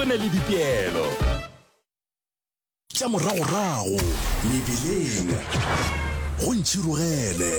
Go na le dipeelo. Tša moragorago mebileng go ntšhirogele.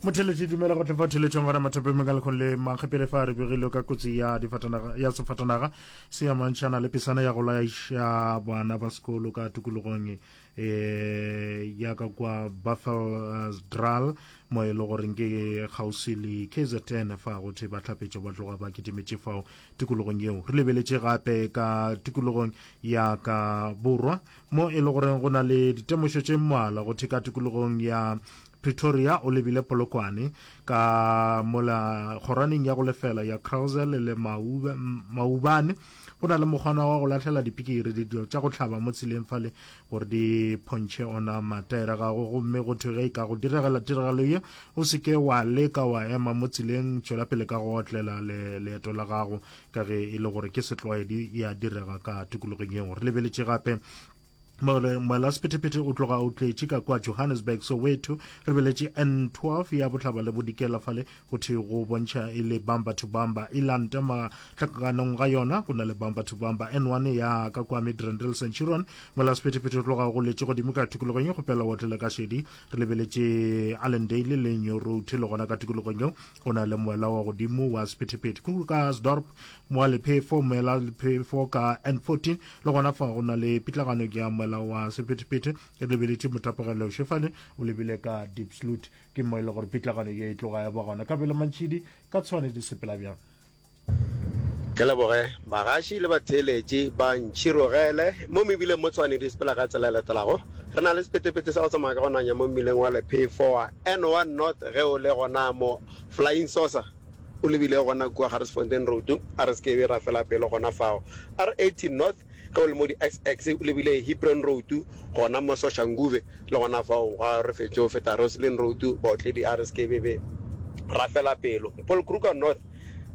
Motheletši dumela go tlefa theletšong gona mathapeng ka lekgong le mankgepele fa re begile ka kotsi ya difatanaga ya sefatanaga se amantšhana le pesana ya go laiša bana ba sekolo ka tikologong eh ya ka kwa Buffelsdral mo e le goreng ke kgauswi le KZN fa go thwe bahlapetšo ba tloga ba kitimetše fao tikologong yeo. Re lebeletše gape ka tikologong ya ka borwa mo e le goreng go na le ditemošo tše mmalwa go thwe ka tikologong ya Pretoria o lebile Polokwane ka mola kgoraneng ya go lefela ya Krausel le Maubane go na le mokgwana wa go lahlela dipikiri dilo tša go hlaba mo tseleng fale gore di phontšhe ona mataere gago gomme go thwe ge e ka go diregela tiragalo ye o se ke wa leka wa ema mo tseleng tšwela pele ka go otlela leeto la gago ka ge e le gore ke setlwaedi ya direga ka tikologong yeo re lebeletše gape moela sephethephethe o tloga o tletše ka kwa Johannesburg Soweto re beletše N12 ya bohlaba le bodikela fale go thwe go bontšha e le bumper to bumper e lanta mahlakanong ga yona go na le bumper to bumper N1 ya ka kwa Midrand le Centurion mola sephethephethe o tloga go letše godimo ka tikologong ye kgopela wa tlele ka šedi re lebeletše Allendale le New Road le gona ka tikologong yeo go na le moela wa godimo wa sephethephethe Krugersdorp moa lephefo moela lephefo ka N14 le gona fa go na le pitlagano ya moela wa sephethephethe re lebeletše motapogelo Shefane o lebile ka Diepsloot Ke mo e le gore pitlagano ye e tloga ya ba gona. Kabelo Mantšhidi, ka Tshwane di sepela bjang? Ke leboge bagaši le batheeletši ba Ntšhirogele mo mebileng mo Tshwane di sepela ka tsela e latelago. Re na le sephethephethe sa go tsamaya ka go nanya mo mmileng wa Lephefo wa N1 North ge o le gona mo Flying Saucer o lebile gona kua Garsfontein Road a re se ke be ra fela pelo gona fao. R80 North Ge o le mo di-XX o lebile Hebron Road gona mo Soshanguve le gona fao ga re fetše go feta Roslyn Road baotledi a re se ke be be ra fela pelo. Paul Kruger North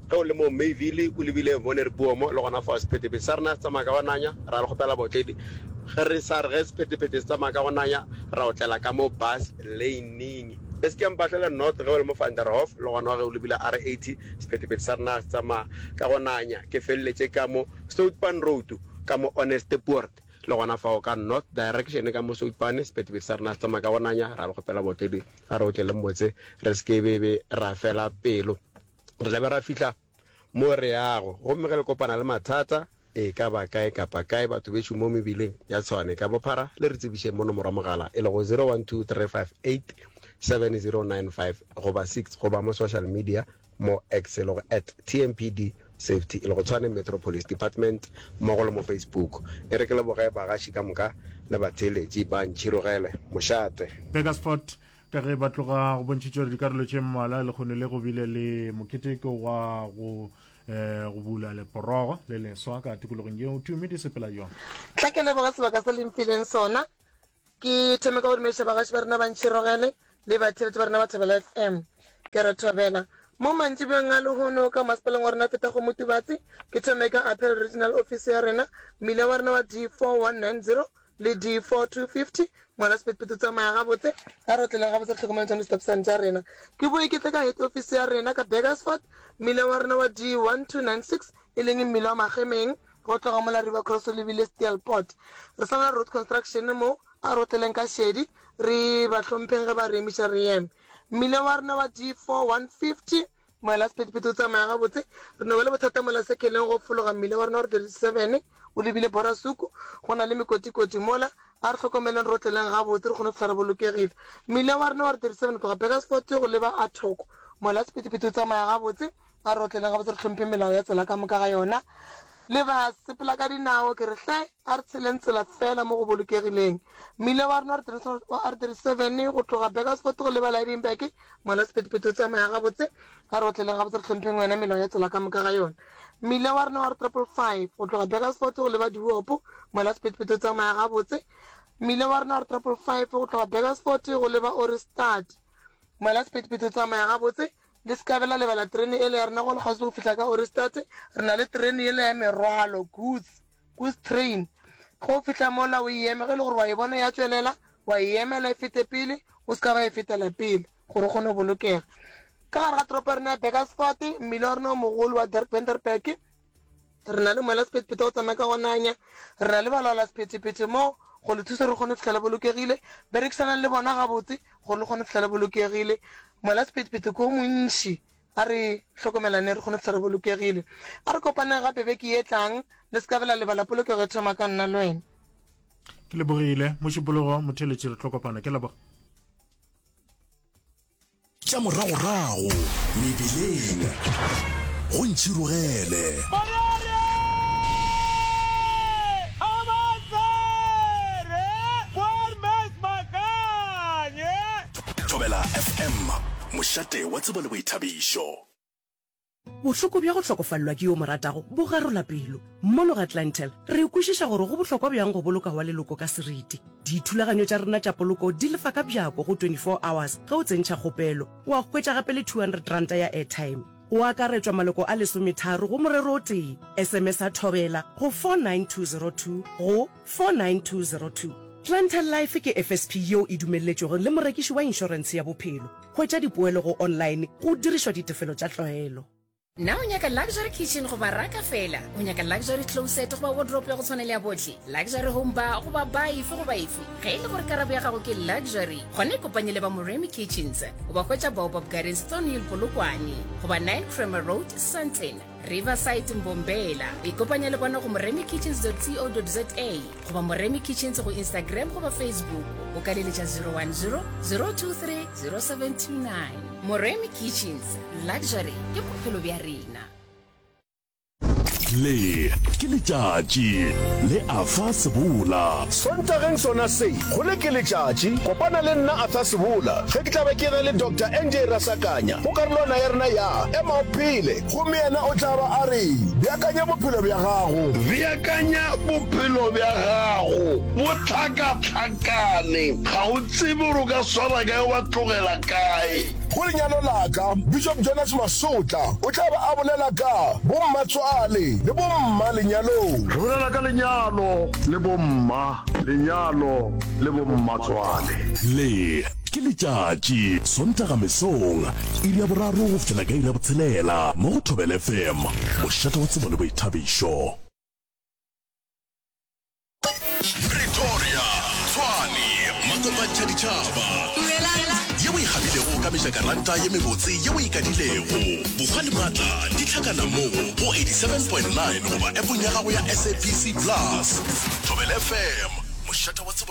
ge o le mo Mayville o lebile Wonderboom le gona fao sephethephethe sa rena se tsamaya ka go nanya ra le kgopela baotledi ge re sa re ge sephethephethe se tsamaya ka go nanya ra otlela ka mo bus lane-ing. Le se ke Mpahlele North ge o le mo Van der Hoff le gona ge o lebile R80 sephethephethe sa rena se tsamaya ka go nanya ke feleletše ka mo Soutpan Road ka mo Onestepoort le gona fao ka North Direction ka mo Soutpan, sephethephethe sa rena se tsamaya ka go nanya, ra le kgopela baotledi a re otleleng botse re se ke be be ra fela pelo. Re tla be ra fihla mo re yago gomme ge le kopana le mathata e ka ba kae kapa kae batho bešo mo mebileng ya Tshwane ka bophara le re tsebišeng mo nomoro ya mogala e lego 0123587095 goba 6 goba mo social media mo X e lego at TMPD Safety e lego Tshwane Metro Police Department mmogo le mo Facebook. E re ke leboge bagaši ka moka le batheeletši ba Ntšhirogele. Mošate. Burgersfort, Ka ge ba tloga go bontšhitše gore dikarolo tše mmalwa lekgono le go bile le moketeko wa go eh, go bula leporogo le leswa ka tikologong yeo Tumi di sepela bjang? Tla ke leboge sebaka se le mphileng sona. Ke thome ka go dumediša bagaši ba rena ba Ntšhirogele le batheeletši ba rena ba Thobela FM. Ke re thobela mo mantšibeng a lehono ka masepaleng wa rena Fetakgomo Tubatse. Ke thome ka Appeal Regional Office ya rena, mmila wa rena wa D4190 le D4250. Ngwana sephethephethe o tsamaya gabotse, a re otleleng gabotse re hlokomele tšona di-stop sign tša rena. Ke boe ke tle ka head office ya rena ka Burgersfort, mmila wa rena wa D1296 e leng mmila wa Magemeng. Go tloga mola River Cross o lebile Steelpoort. Re sa na le road construction mo, a re otleleng ka šedi, re ba hlompheng ge ba re emiša re eme. Mmila wa rena wa D4 150, moela sephethephethe o tsamaya gabotse. Re no ba le bothata mola Sekheleng go fologa mmila wa rena wa R37 o lebile Borasuku, go na le mekotikoti mola, a re hlokomeleng re otleleng gabotse re kgone go fihla re bolokegile. Mmila wa rena wa R37 go tloga Burgersfort go leba Athoko, moela sephethephethe o tsamaya gabotse. A re otleleng gabotse re hlomphe melao ya tsela ka moka ga yona. Le ba sepela ka dinao, ke re hle a re tsheleng tsela feela mo go bolokegileng. Mmila wa rena wa R37 go tloga Burgersfort go leba Lydenburg, mola sephethephethe o tsamaya gabotse. A re otleleng gabotse re hlompheng yona melao ya tsela ka moka ga yona. Mmila wa rena wa R555 go tloga Burgersfort go leba Dihuopo, mola sephethephethe o tsamaya gabotse. Mmila wa rena wa R555 go tloga Burgersfort go leba Ohrigstad, mola sephethephethe o tsamaya gabotse. Le se ka be la lebala terene yela ya rena go le kgauswi le go fihla ka Ohrigstad. Re na le terene yela ya merwalo, goods, goods train. Ge o fihla mola o e eme, ge e le gore wa e bona ya tšwelela, wa e emela e fete pele, o se ka ba e fetela pele gore o kgone go bolokega. Ka gare ga toropo ya rena ya Burgersfort, mmila wa rena o mogolo wa Dirk Vanderberg. Re na le moela sephethephethe wa go tsamaya ka go nanya. Re na le balaola sephethephethe mo go le thusa gore le kgone go fihla le bolokegile. Berekisanang le bona gabotse gore le kgone go fihla le bolokegile. Moela sephethephethe ke o montši. A re hlokomelaneng re kgone go fihla re bolokegile. A re kopaneng gape beke ye tlang. Le se ka be la lebala polokego e thoma ka nna le wena. Ke lebogile Mošupologo motheeletši re tlo kopana. Ke leboga. Tša moragorago mebileng go ntšhirogele. Thobela FM, mošate wa tsebo le boithabišo. Bohloko bja go hlokofalelwa ke yo o mo ratago bo garola pelo. Mono ga Clientele, re kwešiša gore go bohlokwa bjang go boloka wa leloko ka seriti. Dithulaganyo tša rena tša poloko di lefa ka bjako go 24 hours ge o tsentšha kgopelo, wa hwetša gape le R200 ya airtime. Go akaretšwa maloko a lesometharo go morero o tee. SMS-a Thobela go 49202 go 49202. Clientele Life ke FSP yeo e dumelletšwego le morekiši wa inšorentshe ya bophelo. Hwetša dipoelo go online go dirišwa ditefelo tša tlwaelo. Na o nyaka luxury kitchen goba raka feela? O nyaka luxury closet goba wardrobe ya go tshwana le ya bohle? Luxury home bar goba bar efe goba efe? Ge e le gore karabo ya gago ke luxury, gona ikopanye le ba Moremi Kitchens. O ba hwetša Baobab Gardens, Thornhill, Polokwane goba 9 Kramer Road, Sandton. Riverside Mbombela. Ikopanya le bona go moremikitchens.co.za goba Moremi Kitchens go Instagram goba Facebook. O ka leletša 010 023 0729. Moremi Kitchens, luxury ke bophelo bja rena. Le ke letšatši le Arthur Sebola. Sontageng sona se, go le ke letšatši, kopana le nna Arthur Sebola ge ke tla be ke na le Doctor NJ Rasakanya go karolwana ya rena ya Ema o Phele. Gomme yena o tla ba a re, Beakanya bophelo bja gago. Beakanya bophelo bja gago. Bo hlakahlakane. Ga o tsebe gore o ka swara kae wa tlogela kae. Go lenyalo la ka, Bishop Jonas Masotla o tla ba a bolela ka bommatswale le bomma lenyalong. Re bolela ka lenyalo le bomma, lenyalo le bommatswale. Le ke letšatši, Sontaga mesong, iri ya boraro go fihlela ka iri ya botshelela, mo go Thobela FM, mošate wa tsebo le boithabišo. Pretoria, Tshwane, Makopantšha ditšhaba. Ye o e gabilego ka mejakaranta ye mebotse ye o e kadilego. Bokgwa le maatla di hlakana mo go 87.9 goba appong ya gago ya SABC Plus. Thobela FM, mošate wa tsebo.